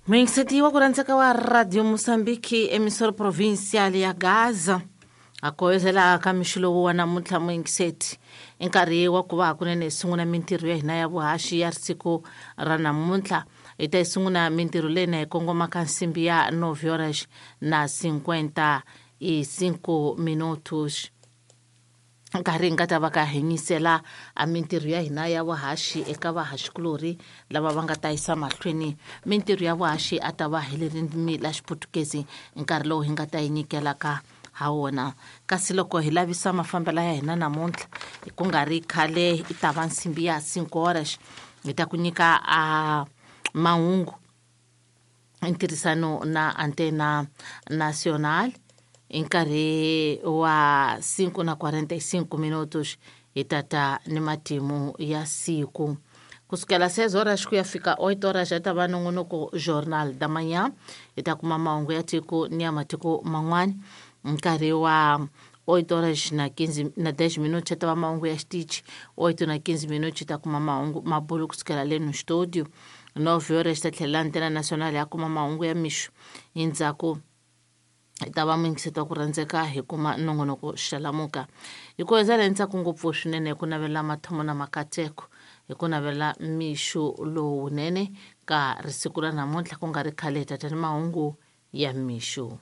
Muyingiseti wa ku rhandzeka wa Radio Mosambiki, emissora provincial ya Gaza, a koyezela ka mixo lowu wa namuntlha. Muyingiseti, i nkarhi wa ku va hakunene hi sungula mintirho ya hina ya vuhaxi ya siku ra namuntlha. Hi ta yi sungula mintirho leyi na hi kongoma ka nsimbi ya 9 horas na 55 minutos, nkarhi hi nga ta va ka hi nyisela a mintirho ya hina ya vuhaxi eka vahaxikulorhi lava va nga ta yisa mahlweni mintirho ya vuhaxi. A ta va hi ririmi la Xiputukezi nkarhi lowu hi nga ta yi nyikelaka ha wona. Kasi loko hi lavisa mafambelo ya hina namuntlha, ku nga ri khale i ta va nsimbi ya 5 horas, hi ta ku nyika a mahungu ntirhisano na Antena Nacional. Hi nkarhi wa 5 na 45 minutos hi tata ni matimu ya siku. Kusukela 6 horas ku ya fika 8 horas ya ta va nongonoko Jornal da Manhã, hi ta kuma mahungu ya tiko ni ya matiko man'wana. Nkarhi wa 8 horas na 15 na 10 minutos ya ta va mahungu ya xitichi. 8 na 15 minutos hi ta kuma mahungu mabulu kusukela le no studio. 9 horas ta tlhela Antena Nacional ya kuma mahungu ya mixo. Hi ndzhaku hi ta va muyingiseti wa ku rhandzeka hi kuma nongonoko Xalamuka. Hi ku hezela hi ntsako ngopfu swinene, hi ku navela mathomo na makateko, hi ku navela mixo lowunene ka risiku ra namuntlha. Ku nga ri khale hi tata ni mahungu ya mixo.